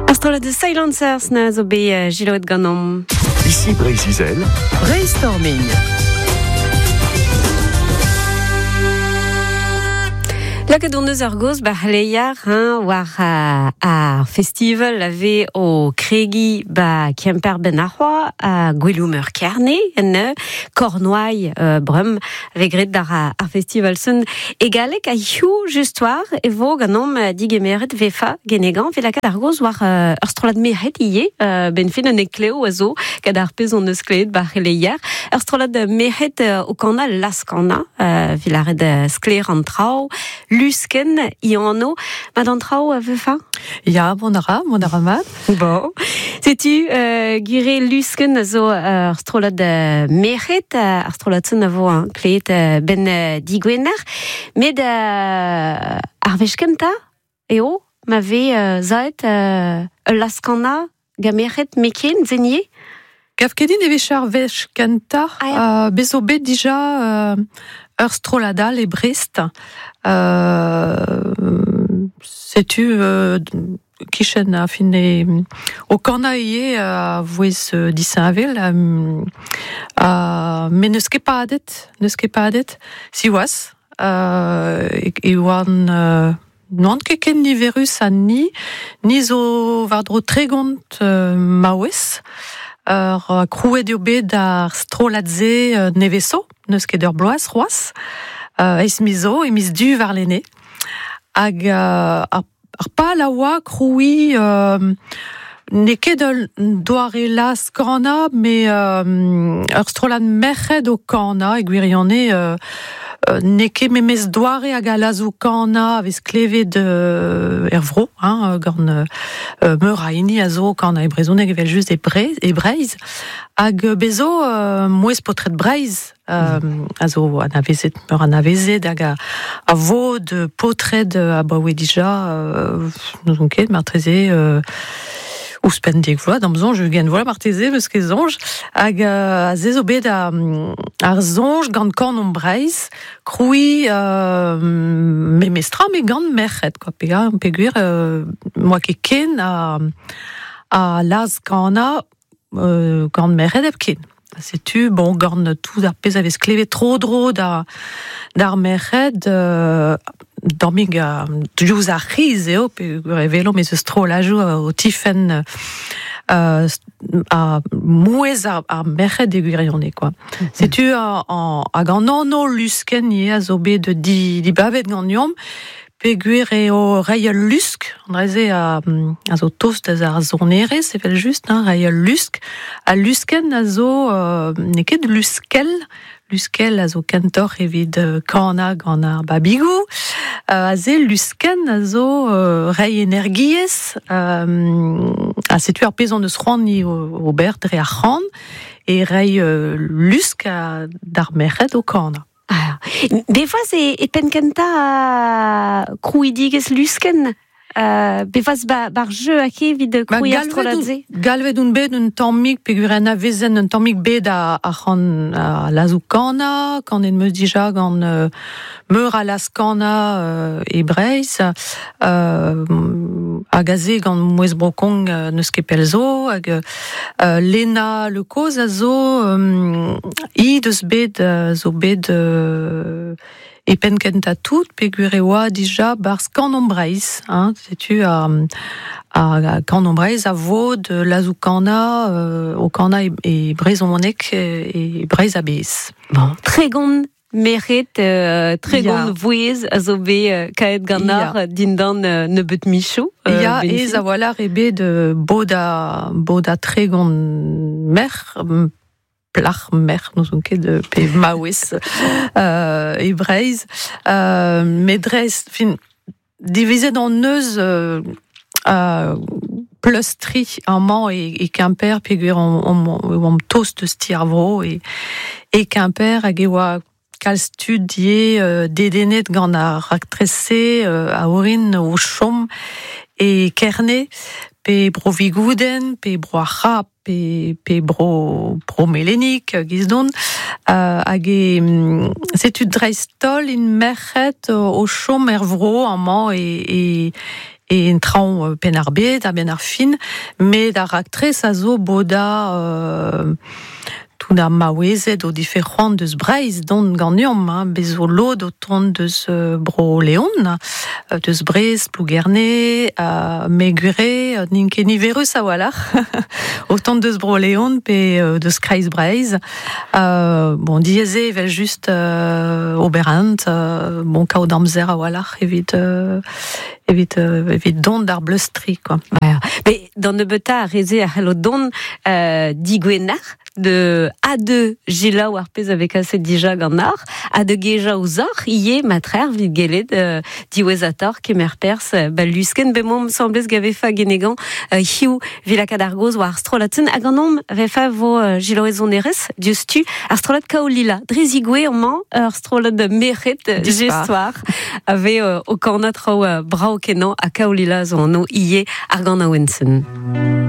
Ar strollad The Silencers na zo bet jiloet ganeomp. Ici Breizh-Izel. Brainstorming. Lakaet hon eus ar gaoz ba c'hleier hein, war ar festival a vez o kregiñ ba Kemper ben ar c'hoa ha Goueloù-Meur Kerne en Cornouailles brem a vez graet d'ar ar festival sun e galleg ha hiziv just war e vo ganeomp digemeret vefa genegañ evit lakaat ar gaoz war ur strollad merc'hed ivez benn fin un heklev a zo gant ar pezh hon eus klevet ba c'heleier ur strollad merc'hed o kanañ laz-kanañ evit lâret sklaer an traoù Luskenn he anv mat an traoù vefa? Ya, mont a ra, mont a ra mat. Bon. Setu Gure Luskenn a zo ur strollad merc'hed, ar strollad-se a vo klevet benn digwener. Met ar wech kentañ eo ma vez saet ul laz-kanañ gant merc'hed meken, zenier. Gav ket din e vije ar wech kentañ. Ah, ya. Bez zo bet dija ur strollad all e Brest. Setu kichen a fin e o kanañ ivez a vouezh disheñvel ha met n'eus ket padet, n'eus ket padet, siwazh e oan n'oan ket ken niverus ha ni. Ni zo war-dro 30 maouez. Ur krouet eo bet ar strollad-se neveso, n'eus ket ur bloaz c'hoazh. Eizh miz zo, e miz Du warlene. Hag ar Ar pal a oa krouiñ n'eo ket ul doare laz-kanañ met ur strollad merc'hed o kanañ e gwirionez n'eo ket memes doare hag al lazoù-kanañ a vez klevet er vro hein, gant meur a hini a zo o kanañ e brezhoneg evel-just e Breizh hag bez zo mouezh paotred Breizh a zo anavezet, meur anavezet hag a vod paotred abaoe dija, n'ouzon ket, marteze ouzhpenn dek vloaz, d'am soñj, ugent vloaz marteze, eus ket soñj. Hag aze zo bet ar soñj gant Kanomp Breizh krouiñ memestra met gant merc'hed, quoi, peogwir n'oa ket ken a laz-kanañ gant merc'hed hepken. Setu, bon, gant tout ar pezh a vez klevet tro-dro da d'ar merc'hed, tammig diouzh ar c'hiz eo, peogwir e welomp ez eus strollajoù o tifenn ha mouezh ar merc'hed e gwirionez, quoi. Setu hag an anv luskenn ivez a zo bet dibabet ganeomp, Peogwir eo reiñ ul lusk, an dra-se a, a zo tost da ar sonerezh evel-just, hein, reiñ ul lusk. Al luskenn a zo n'eo ket luskell, luskell a zo kentoc'h evit kanañ gant ar babigoù. Aze luskenn a zo reiñ energiezh, ha setu ar pezh hon eus c'hoant ni ober dre ar c'han, e reiñ lusk d'ar merc'hed o kanañ. Ah, bevaz e penn kentañ krouidigezh Luskenn bevaz bar jeu hag evit krouiñ ar strollad-se? Galvet on bet un tammig peogwir anavezen un tammig bet ar c'han lazoù-kanañ, kanet 'm eus dija gant meur a laz-kanañ e Breizh, hag aze gant Mouezh Bro-Kong n'eus ket pell zo, hag Lena Le Coz a zo hi deus bet zo bet e penn kentañ tout peogwir e oa dija 'barzh Kanomp Breizh hein, setu ar Kanomp Breizh a vod lazoù-kanañ o kanañ e brezhoneg e Breizh a-bezh. Bon, 30 Merc'hed 30 vouezh a zo bet kaet ganeoc'h dindan nebeut michoù. Ya, aes a-walc'h eo bet bodañ 30 merc'h, plac'h, merc'h, n'ouzon ket pe maouez e Breizh. Met dreist, fin, divizet hon eus pleustriñ amañ e Kemper peogwir oamp tost eus ti ar vro e Kemper hag e oa kalz tud ivez dedennet gant ar raktres-se a orin o chom e Kerne pe Bro-Vigoudenn pe Bro ar C'hab pe Bro Bro-Melenig giz-don hag e setu dreist-holl int merc'hed o chom er vro amañ e e en traoñ pen ar bed a ben ar fin, met ar raktres a zo boda tout ar maouezed o dife c'hoant deus Breizh dont ganeomp, hein, bez zo lod o tont deus bro Leon, deus Brest, Plougerne, me gwire, n'int ket niverus a-walc'h, o tont deus bro Leon pe deus Kreiz Breizh. Bon, diaes eo evel just ober-int, bon, kaout amzer a-walc'h evit evit evit dont d'ar bleustri, quoi. Ouais. Mais d'an nebeutañ ar re-se a c'hello dont digwener de a2 jilaou ar pezh a vez kaset dija gant ar, ha de gejañ ouzhoc'h ivez matreer evit gellet diwezhatoc'h kemer perzh ba luskenn bemomp 'semblez gant vefa genegañ hiziv evit lakaat ar gaoz war ar strollad-sen hag an omp vefa vo jilaouet sonerezh diouzhtu ar strollad Kaolila dre zigouez amañ ur strollad merc'hed dispar a vez o kanañ traoù brav kenañ ha Kaolila zo anv ivez ar ganaouenn-sen.